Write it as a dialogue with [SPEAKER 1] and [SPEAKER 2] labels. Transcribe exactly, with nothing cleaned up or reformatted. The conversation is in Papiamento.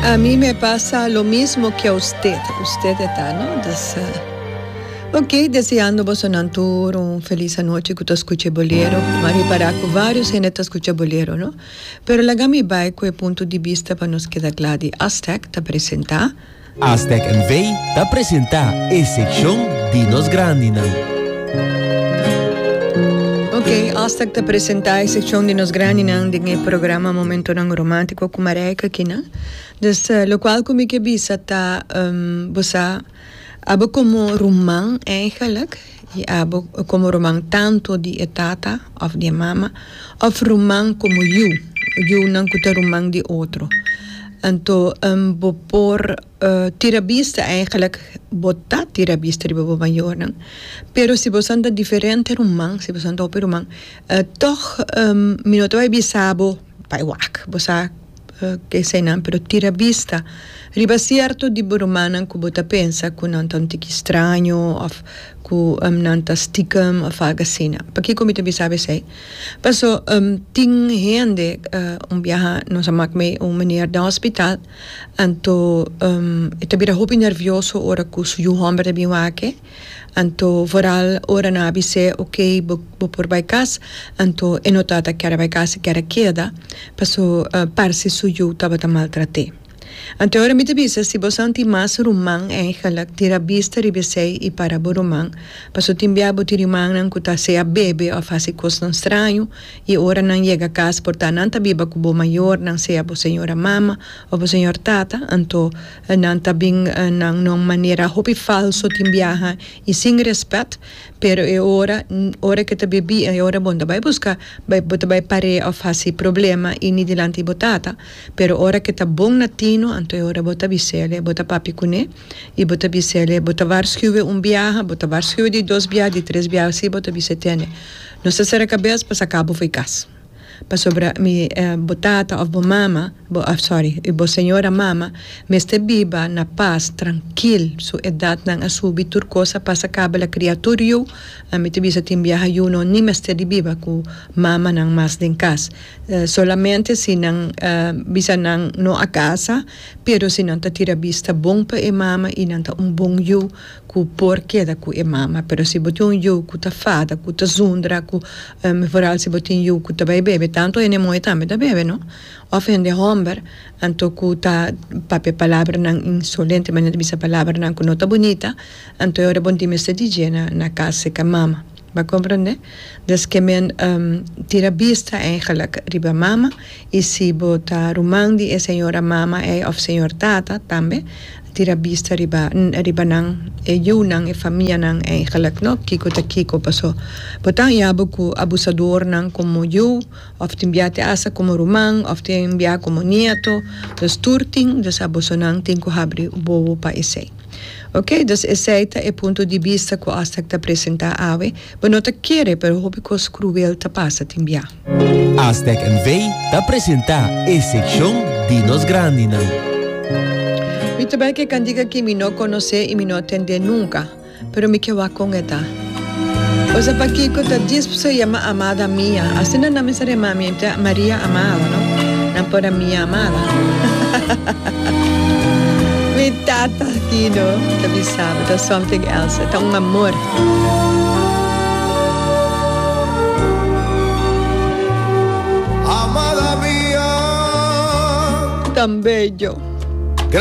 [SPEAKER 1] A mí me pasa lo mismo que a usted. Usted ta, no? Dus, uh, ok, deseando boso tur un felis anochi ku ta skucha Bolero. M'a ripará ku varios hende ta skucha Bolero, no? Pero laga mi bai ku e punto di bista pa nos keda kla di Aztec ta presentá.
[SPEAKER 2] Aztec N V ta presentá e sekshon di nos grandinan.
[SPEAKER 1] Ok, Aztec ta presentá e sekshon di nos grandinan den e programa Momentonan Romántiko ku Marijke aki, no? Dus uh, lokual ku mi ke bisa ta um, bo sa abo komo ruman eigenlijk, i abo komo ruman tantu di tata òf di mama, òf ruman komo yu, yunan ku ta ruman di otro. Anto um, bo por uh, tira bista eigenlijk, bo ta tira bista riba bo mayornan. Pero si bo ta diferente ruman, si bo ta hopi ruman, uh, toch um, mi no ta bai bisa bo bai wak, bo sa uh, ke eseinan, pero tira bista riba sierto di bo rumannan ku bo ta pensa ku nan ta un tiki straño òf ku um, nan ta stiekem òf algu asina. Pakiko mi ta bisa esei? Paso um, tin hende, uh, un biaha nos a mak mee un meneer den hospital, anto um, e ta bira hopi nervioso ora ku su yu hòmber ta bin wak e, anto vooral ora nan a bis'é, ok, bo, bo por bai kas, anto e no tabata kier bai kas, e kier keda, paso uh, parse su yu tabata maltrat'é. Anto ora mi ta bisa, si bo tin mas ruman eigenlijk, tira bista riba esei i para bo ruman. Paso tin bia bo tin rumannan ku ta sea bebe òf hasi kosnan straño, i ora nan yega kas, por ta nan ta biba ku bo mayornan, sea bo señora mama òf bo señor tata, anto nan ta bin na un manera hopi falso tin biaha i sin rèspèt, pero e ora, ora ku ta bebi, e ora bo no ta bai buska, bai bo ta bai par'é òf hasi problema i ni dilanti bo tata, pero ora ku ta bon na tino, anto e ora bo ta bis'é, bo ta papia kuné, i bo ta bis'é, bo ta waarschuwen un biaha, bo ta waarschuwen di dos biaha, di tres biaha, si bo ta bis'é tene. No sa sera kabes pa saka bo fo'i kas. Pasobra mi eh, bo tata òf bo mama, bo, ah, sorry, bo señora mama, mester biba na pas, trankil, su edatnan a subi, tur kos a pasa kaba, el a kria tur yu, ami ta bisa tin biaha yu no ni mester di biba ku mamanan mas den kas. Uh, solamente si nan uh, bisa nan no a kasa, pero si nan ta tira bista bon pa e mama i nan ta un bon yu ku por keda ku e mama. Pero si bo tin un yu ku ta fada, ku ta zundra, ku um, vooral si bo tin yu ku ta bai bebe, tantu hende muhé tambe ta bebe, no? Òf hende hòmber, anto ku ta papia palabranan insolente, manera bisa palabranan ku no ta bunita, anto ora bo no tin mester di dje na, na kas ku mama. Bo a komprondé? Dus ke men um, tira bista eigenlijk riba mama i si bo ta ruman di e señora mama e òf señor tata tambe tira bista riba riba nan e yunan, e famianan eigenlijk, no? Kiko ta kiko, paso bo ta haña bo ku abusadornan komo yu òf tin bia te hasta komo ruman òf tin bia komo nieto, dus tur tin, dus abosonan tin ku habri wowo pa esei. Ok, dus esei ta e punto di bista ku Aztec ta presentá awe. Bo no ta kere, pero hopi kos kruel ta pasa tin bia.
[SPEAKER 2] Aztec N V ta presentá e sekshon di nos grandinan.
[SPEAKER 1] Mi ta bai ku e kantika ku mi no konosé i mi no a tende nunka, pero mi ke wak kon e ta. O sea, pakiko ta dis se yama Amada Mía? Asina nan mester yama mi, ta Maria Amada, no? Nan por a Mia Amada. Mi tata Tino ta bisa, ta something else, ta un amor.
[SPEAKER 3] Amada mía.
[SPEAKER 1] Tan bello.